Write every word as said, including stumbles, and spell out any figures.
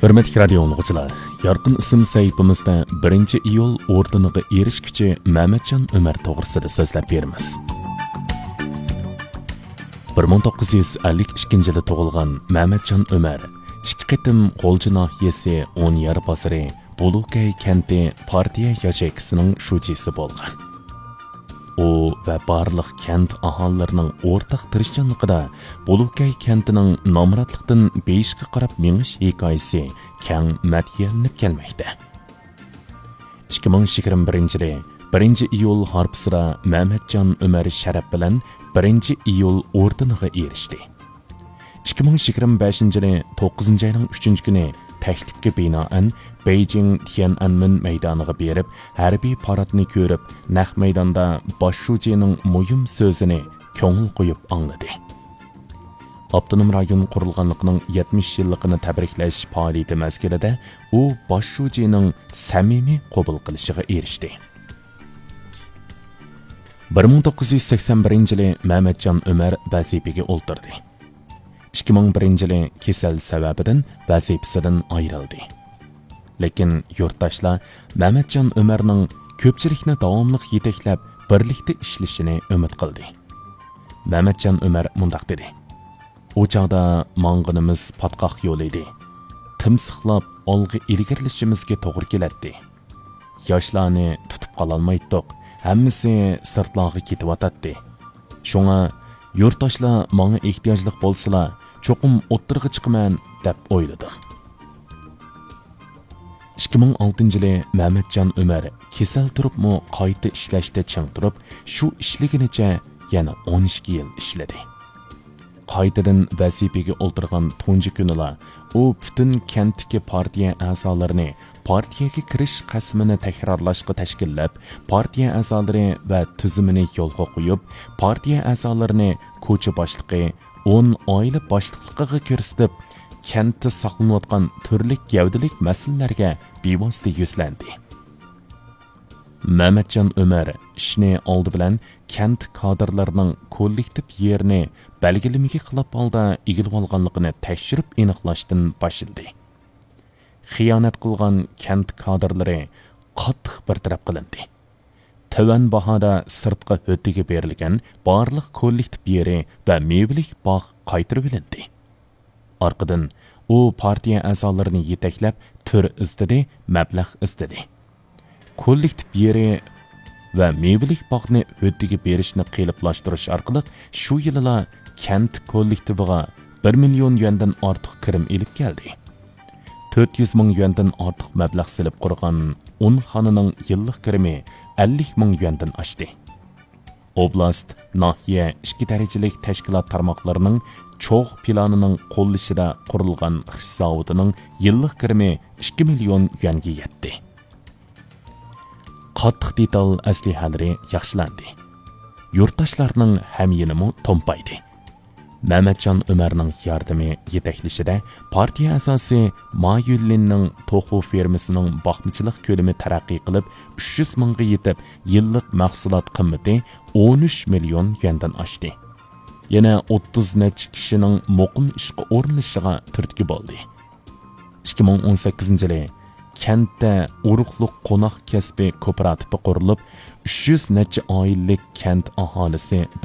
ھۆرمەتلىك رادىيو ئاڭلىغۇچىلار، يارقىن ئىسىم سەھىپىمىزدە بىرىنچى ئىيۇل ئوردېنىغا ئېرىشكۈچى مەمەتجان ئۆمەر توغرىسىدا سۆزلەپ بېرىمىز. بىر مىڭ توققۇز يۈز ئەللىك ئىككىنچى يىلى تۇغۇلغان مەمەتجان ئۆمەر ئىككى قېتىم غۇلجا ناھىيەسى ئونيار بازىرى بۇلۇكەي كەنتى پارتىيە ياچېيكىسىنىڭ شۇجىسى بولغان. ئۇ ۋە بارلىق كەنت ئاھالىلىرىنىڭ ئورتاق تىرىشچانلىقىدا بۇلۇكەي كەنتىنىڭ نامراتلىقتىن بېيىشقا قاراپ مېڭىش ھېكايىسى كەڭ مەدھىيەلىنىپ كەلمەكتە. ئىككى مىڭ يىگىرمە بىرىنچى يىلى بىرىنچى ئىيۇل ھارپىسىدا مەمەتجان ئۆمەر شەرەپ بىلەن بىرىنچى ئىيۇل ئوردېنىغا ئېرىشتى. ئىككى مىڭ يىگىرمە بەشىنچى يىلى توققۇزىنچى ئاينىڭ ئۈچىنچى كۈنى تەكلىپكە بىنائەن بېيجىڭ تيەنئەنمېن مەيدانىغا بېرىپ، ھەربىي پاراتنى كۆرۈپ، نەق مەيداندا باش شۇجىنىڭ مۇھىم سۆزىنى كۆڭۈل قويۇپ ئاڭلىدى. ئاپتونوم رايون قۇرۇلغانلىقىنىڭ يەتمىش يىللىقىنى تەبرىكلەش پائالىيىتى مەزگىلىدە ئۇ باش شۇجىنىڭ سەمىمىي قوبۇل قىلىشىغا ئېرىشتى. بىر مىڭ توققۇز يۈز سەكسەن بىرىنچى يىلى مەمەتجان ئۆمەر ۋەزىپىگە ئولتۇردى. ئىككى مىڭ بىرىنچى يىلى كېسەل سەۋەبىدىن ۋەزىپىسىدىن ئايرىلدى. لېكىن يۇرتداشلار مەمەتجان ئۆمەرنىڭ كۆپچىلىكنى داۋاملىق يېتەكلەپ، بىرلىكتە ئىشلىشىنى ئۈمىد قىلدى. مەمەتجان ئۆمەر مۇنداق دېدى: «ئۇ چاغدا ماڭغىنىمىز پاتقاق يول ئىدى. تىمسىقلاپ ئالغا ئىلگىرىلىشىمىزگە توغرا كېلەتتى. ياشلارنى تۇتۇپ قالالمايتتۇق، ھەممىسى سىرتلارغا كېتىۋاتاتتى. شۇڭا يۇرتداشلار ماڭا ئېھتىياجلىق بولسىلا، چوقۇم ئوتتۇرىغا چىقىمەن دەپ ئويلىدىم.» ئىككى مىڭ ئالتىنچى يىلى مەمەتجان ئۆمەر كېسەل تۇرۇپمۇ قايتا ئىشلەشتە چىڭ تۇرۇپ، شۇ ئىشلىگىنىچە يەنە ئون ئىككى يىل ئىشلىدى. قايتىدىن ۋەزىپىگە ئولتۇرغان تۇنجى كۈنىلا ئۇ پۈتۈن كەنتتىكى پارتىيە ئەزالىرىنى پارتىيەگە كىرىش قەسىمىنى تەكرارلاشقا تەشكىللەپ، پارتىيە ئەزالىرى ۋە تۈزۈمىنى يولغا قويۇپ، پارتىيە ئەزالىرىنى كوچا باشلىقى، ئون ئائىلە باشلىقلىقىغا كۆرسىتىپ، كەنتتە ساقلىنىۋاتقان تۈرلۈك گەۋدىلىك مەسىلىلەرگە بىۋاسىتە يۈزلەندى. مەمەتجان ئۆمەر ئىشنى ئالدى بىلەن كەنت كادىرلىرىنىڭ كوللېكتىپ يېرىنى بەلگىلىمىگە خىلاپ ھالدا ئىگىلىۋالغانلىقىنى تەكشۈرۈپ ئېنىقلاشتىن باشلىدى. خىيانەت قىلغان كەنت كادىرلىرى قاتتىق بىر تەرەپ قىلىندى. تۆۋەن باھادا سىرتقا ھۆددىگە بېرىلگەن بارلىق كوللېكتىپ يېرى ۋە مېۋىلىك باغ قايتۇرۇۋېلىندى. ئارقىدىن ئۇ پارتىيە ئەزالىرىنى يېتەكلەپ، تۈر ئىزدىدى، مەبلەغ ئىزدىدى. كوللېكتىپ يېرى ۋە مېۋىلىك باغنى ھۆددىگە بېرىشنى قېلىپلاشتۇرۇش ئارقىلىق شۇ يىلىلا كەنت كوللېكتىپىغا بىر مىليون يۈەندىن ئارتۇق كىرىم ئېلىپ كەلدى. تۆت يۈز مىڭ يۈەندىن ئارتۇق مەبلەغ سېلىپ قۇرغان ئون خانىنىڭ يىللىق كىرىمى ئەللىك مىڭ يۈەندىن ئاشتى. ئوبلاست، ناھىيە ئىككى دەرىجىلىك تەشكىلات تارماقلىرىنىڭ چوغ پىلانىنىڭ قوللىشىدا قۇرۇلغان خىش زاۋۇتىنىڭ يىللىق كىرىمى ئىككى مىليون يۈەنگە يەتتى. قاتتىق دېتال ئەسلىھەلىرى ياخشىلاندى. يۇرتداشلارنىڭ ھەميېنىمۇ تومپايدى. مەمەتجان ئۆمەرنىڭ ياردىمى، يېتەكلىشىدە پارتىيە ئەزاسى ما يۈنلىننىڭ توخۇ فېرمىسىنىڭ باقمىچىلىق كۆلىمى تەرەققىي قىلىپ، ئۈچ يۈز مىڭغا يېتىپ، يىللىق مەھسۇلات قىممىتى ئون ئۈچ مىليون يۈەندىن ئاشتى. يەنە ئوتتۇز نەچچە كىشىنىڭ مۇقىم ئىشقا ئورۇنلىشىشىغا تۈرتكە بولدى. ئىككى مىڭ ئون سەككىزىنچى يىلى كەنتتە ئۇرۇقلۇق قوناق كەسپى كوپىراتىپى قۇرۇلۇپ، ئۈچ يۈز نەچچە ئائىلىلىك كەنت ئاھالىسى